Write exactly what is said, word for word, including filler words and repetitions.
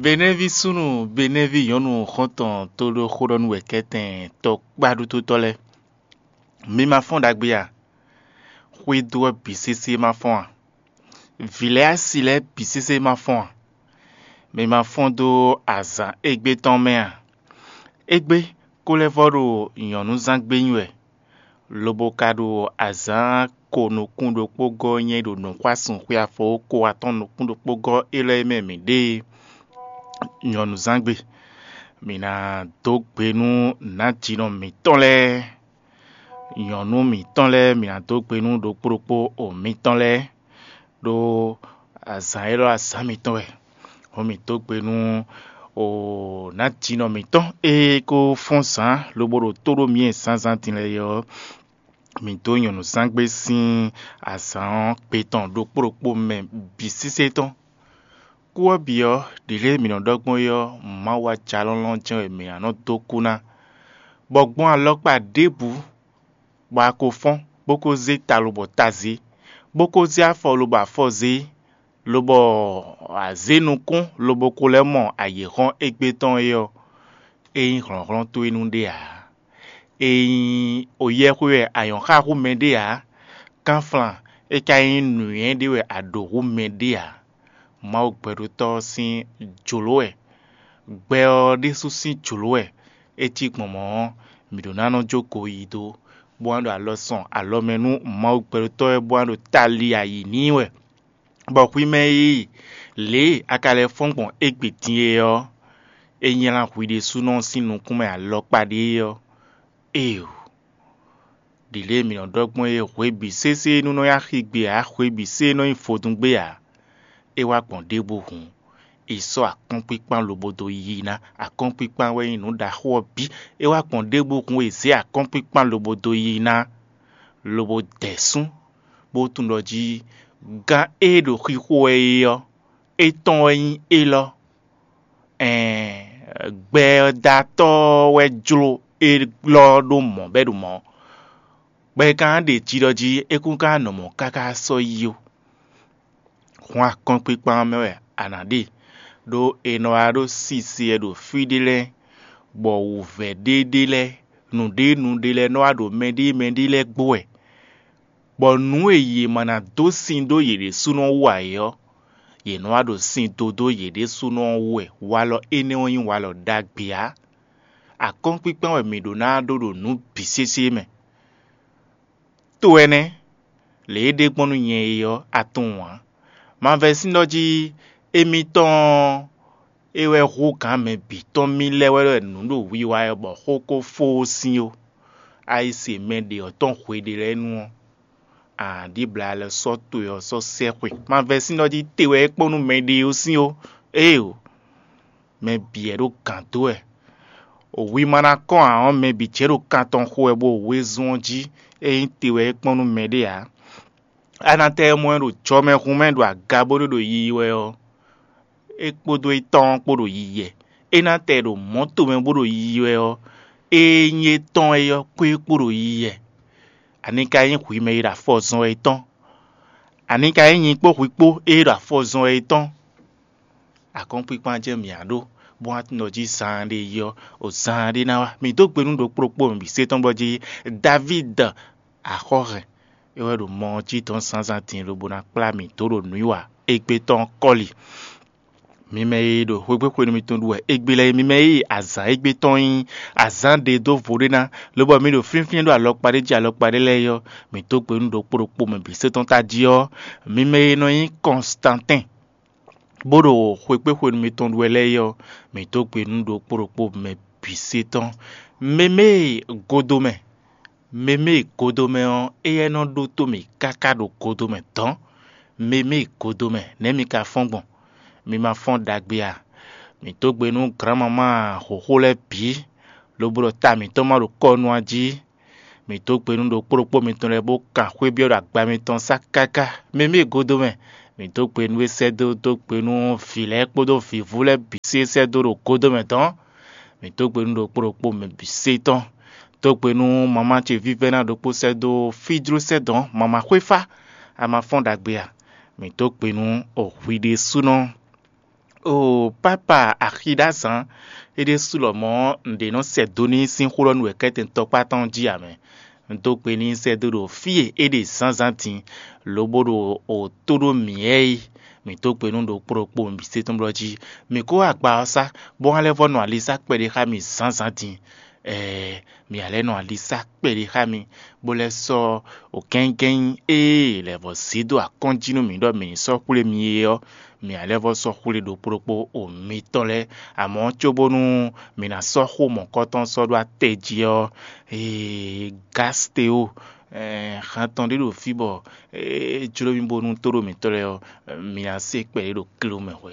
Benɛ́ví súnnu, Benɛ́ví nyɔ̌nu xɔ́ntɔn tóɖó xóɖɔ́núwɛkɛ́tɛn tɔkpáɖútótɔ́ lɛ́ɛ, mi ma fɔ́n ɖagbe a? Xwédo ɔ́ bǐ sésé ma fɔ́n a? Vǐ lɛ́ɛ asi lɛ́ɛ bǐ sésé ma fɔ́n a? Mi ma fɔ́n dó azǎn égbé tɔn mɛ a? Égbé kó lɛ́ vɔ́ ɖo nyɔ̌nuzángbe nyi wɛ, lobo ka ɖo azǎn ko nukún ɖokpó gɔ́ nyɛ ɖo nǔxwásún xwe afɔ ko atɔ́ɔ́n nukún ɖokpó gɔ́ élɔ́ e mɛ mǐ ɖe e. Nyɔ̌nuzángbe, mǐ ná dó gbe nú nǎjínɔ mǐtɔn lɛ́ɛ, nyɔ̌nu mǐtɔn lɛ́ɛ, mǐ ná dó gbe nú ɖokpó ɖokpó o mǐtɔn lɛ́ɛ, ɖó azǎn élɔ́ azǎn mǐtɔn wɛ. Hɔn mǐ dó gbe nú o nǎjínɔ mǐtɔn e ko fɔ́n zǎn lobo ɖo tó ɖó mǐ e zǎnzǎn din lɛ́ɛ é ɔ́, mǐ dó nyɔ̌nuzángbe sín azǎn ɔ́ gbe tɔn ɖokpó ɖokpó mɛ bǐ sésé tɔn. Kú ɔ́ bǐ ɔ́, ɖǐ lě e mǐ nɔ ɖɔ gbɔn é ɔ́, Mawu ajalɔ́lɔ́ jɛ́n wɛ mǐ ná nɔ dó kú ná, bɔ gbɔn alɔkpa ɖěbǔ bɔ a ko fɔ́n, bó ko zé ta lobɔ ta zé, bó ko zé afɔ lobɔ afɔ zé, lobɔ a zě nukún lobo ko lɛ́ mɔ ayǐhɔ́n égbé tɔn é ɔ́, é nyí hlɔ̌nhlɔ́n towe nu ɖé ǎ. Ényí o yɛ́ xwé wɛ a nyɔ̌ xa hú mɛɖé ǎ, kánflan é ka nyí nǔnywɛ́ ɖé wɛ a ɖǒ hú mɛɖé ǎ. Mawu gbɛɖótɔ́ ɔ́ sín jlǒ wɛ, gbɛ ɔ́ ɖésú sín jlǒ wɛ. É cí gbɔn mɔ̌ ɔ́, mǐ ɖó ná nɔ jó goyídó, bó wá ɖo alɔ sɔn alɔ mɛ nú Mawu gbɛɖótɔ́ wɛ, bó wá ɖo tali ayǐ n'i wɛ, bɔ hwi mɛ e lě e a ka lɛ́ fɔ́n gbɔn égbé din é ɔ́, é nylá hwi ɖésúnɔ sín nukún mɛ alɔkpa ɖé é ɔ́. Éeǒ! Ɖi lě e mǐ nɔ ɖɔ gbɔn é, hwe bǐ sésé nú nɔ nyí axi gbe ǎ, hwe bǐ sé nɔ nyí vodún gbe ǎ. É wá gbɔn ɖěbǔ hǔn, è sɔ́ akɔ́nkpíkpán lobo dó yí ná. Akɔ́nkpíkpán wɛ nyí nǔ ɖaxó ɔ́ bǐ. É wá gbɔn ɖěbǔ hǔn, è zě akɔ́nkpíkpán lobo dó yí ná, lobo dɛ sún, bó tunwun ɖɔ jí gán e ɖo xixo wɛ é ɔ́, étɔn wɛ nyí élɔ́. Ɛɛn, gbɛdatɔ́ wɛ jló élɔ́ ɖó mɔ̌ bɔ é ɖo mɔ̌. Bɔ è ka ná ɖe jiɖɔ jí é kún ka nɔ mɔ̌ káká sɔ́ yi ó. Hǔn akɔ́nkpíkpán ɔ́ mɛ wɛ a nǎ ɖe, ɖó è nɔ wá ɖó sise wɛ ɖo fí ɖé lɛ́ɛ, bɔ wǔvɛ́ ɖé ɖé lɛ́ɛ, nǔɖé nǔɖé lɛ́ɛ nɔ wá ɖo mɛɖée mɛɖée lɛ́ɛ gbo wɛ, bɔ nǔ e yě ma ná dó sin dó yě ɖésúnɔ wú ǎ é ɔ́, yě nɔ wá ɖo sin dó dó yě ɖésúnɔ ɔ́ wú wɛ. Walɔ énɛ́ ɔ́ nyí walɔ ɖagbe ǎ. Akɔ́nkpíkpán wɛ mǐ ɖó ná ɖó ɖo nǔ bǐ sésé mɛ. To ɛnɛ, lě e ɖe gbɔn nú nyɛ é ɔ́, a tunwun ǎ. Mavɛsín ɖɔ jí émítɔn ɔ́, é wɛ hú gǎn mɛ bǐ tɔn mì lɛ́ wɛ ɖɔ nǔ ɖo wiwa wɛ bɔ xó ko fó ó sín ó. A yi se mɛ ɖě ɔ́ tɔn hweɖé lɛ́ɛ nu ɔ́, a nǎ ɖibla alɔ sɔ́ towe ɔ́ sɔ́ sɛ́ xwe. Mavɛsín ɖɔ jí te wɛ é kpɔ́n nú mɛɖée ó sín ó. Éeǒ! Mɛ bǐ wɛ ɖo gǎn dó wɛ. Hwi ma ná kɔn ǎ ɔ́, mɛ bǐ jɛ ɖo kan tɔn xo wɛ bó wezun ɔ́ jí, ényí te wɛ é kpɔ́n nú mɛɖé ǎ. A nǎ tɛ mɔ ɛ ɖo jɔmɛhun mɛ ɖo aga bónú ɖo yiyi wɛ ɔ́, é kpódó étɔn ɔ́ kpó ɖo yiyi wɛ. É ná tɛ ɖo mɔ̌ tomɛ bó ɖo yiyi wɛ ɔ́, ée nyí étɔn é ɔ́ kpó é kpó ɖo yiyi wɛ. Ani ka nyí hwi mɛ e ɖo afɔ zɔn wɛ é tɔn? Ani ka nyí nyi kpó hwi kpó e ɖo afɔ zɔn wɛ é tɔn? Akɔ́nkpíkpán jɛ́n mǐ á ɖó, bó wá tunwun ɖɔ jí zaanɖé yi ɔ́, o zaanɖé ná wá. Mǐ dó gbe nú ɖokpó ɖokpó mǐ bǐ sé tɔn gbɔ jí Davíd axɔ́hɛn é wɛ ɖo mɔ ɔ́ jí dɔn zǎnzǎn din lobo ná kplá mǐ dó ɖo nǔwiwa égbé tɔn kɔ́li. Mi mɛ e ɖo xwégbé xwenu mitɔn ɖu wɛ égbé lɛ́ɛ, mi mɛ e azǎn égbé tɔn nyí azǎn ɖe dó vo ɖé ná, lobɔ mi ɖo flínflín ɖo alɔkpa ɖé jí alɔkpa ɖé lɛ́ɛ é ɔ́, mǐ dó gbe nú ɖokpó ɖokpó mɛ bǐ sé tɔn tají ɔ́, mi mɛ e nɔ nyí Kɔnstantɛ́n, bó ɖo xwekpéxwenu mitɔn ɖu wɛ lɛ́ɛ é ɔ́, mǐ dó gbe nú ɖokpó ɖokpó mɛ bǐ sé tɔn. Mɛ mɛ e godomɛ, mɛ mɛ e godomɛ ɔ́, éyɛ́ nɔ ɖótó mì káká ɖo godomɛ dɔ̌n. Mɛ mɛ e godomɛ, nɛ̌ mi ka fɔ́n gbɔn? Mi ma fɔ́n ɖagbe a? Mǐ dó gbe nú grǎnmamá hǒxo lɛ́ɛ bǐ, lobo ɖɔ ta mǐtɔn ma ɖo kɔ nu a jí. Mǐ dó gbe nú ɖokpó ɖokpó mitɔn lɛ́ɛ bó kan xwé byɔ́ ɖo agba mitɔn sá káká. Mɛ mɛ e godomɛ, mǐ dó gbe nú é sɛ́ dó dó gbe nú vǐ lɛ́ɛ kpódó vǐvú lɛ́ɛ bǐ sí é sɛ́ dó ɖo godomɛ dɔ̌n. Mǐ dó gbe nú ɖokpó ɖokpó mɛ bǐ sé tɔn. Dó gbe nú mamá ce vívɛ́ná ɖokpó sɛ́ dó fíjló sɛ́ dɔ̌n, mamá xwéfá, a ma fɔ́n ɖagbe a? Mǐ dó gbe nú o hwi ɖésúnɔ. O pápa axi ɖó azǎn, é ɖésú lɔmɔ̌ un ɖě nɔ sɛ dó n'i sín xó lɔ nú wɛ̌kɛ́tɛn tɔkpá tɔn jí ǎ mɛ. Un dó gbe n'i sɛ́ dó ɖo fí e é ɖe zǎnzǎn din, lobo ɖo o tó ɖó mǐ ɛ yi. Mǐ dó gbe nú ɖokpó ɖokpó mǐ se tɔn blɔ́ jí. Mǐ kó agba ɔ́ sá, bó hɛn lɛ́ vɔ́ nɔ ali sá kpɛɖé xá mì zǎnzǎn din. Ɛɛ, mǐ ǎ lɛ́ nɔ ali sá kpɛɖé xá mi, bó lɛ́ sɔ́ o gɛ́ngɛ́n e lɛ̌ vɔ́ zé dó akɔ́n jí nú mǐ ɖɔ mǐ ní sɔ́ xwlé mi é ɔ́, mǐ ǎ lɛ́ vɔ́ sɔ́ xwlé ɖokpó ɖokpó o mitɔn lɛ́ɛ. Amɔ̌ cóbónú mǐ ná sɔ́ xó mɔ̌kɔtɔn sɔ́ ɖó atɛ jí ɔ́, ee, Gasteo, ɛɛ, han tɔn ɖé ɖo fí bɔ é jló mì bónú tóɖó mǐtɔn lɛ́ɛ ɔ́, mǐ ná se kpɛɖé ɖo kló mɛ hwɛ.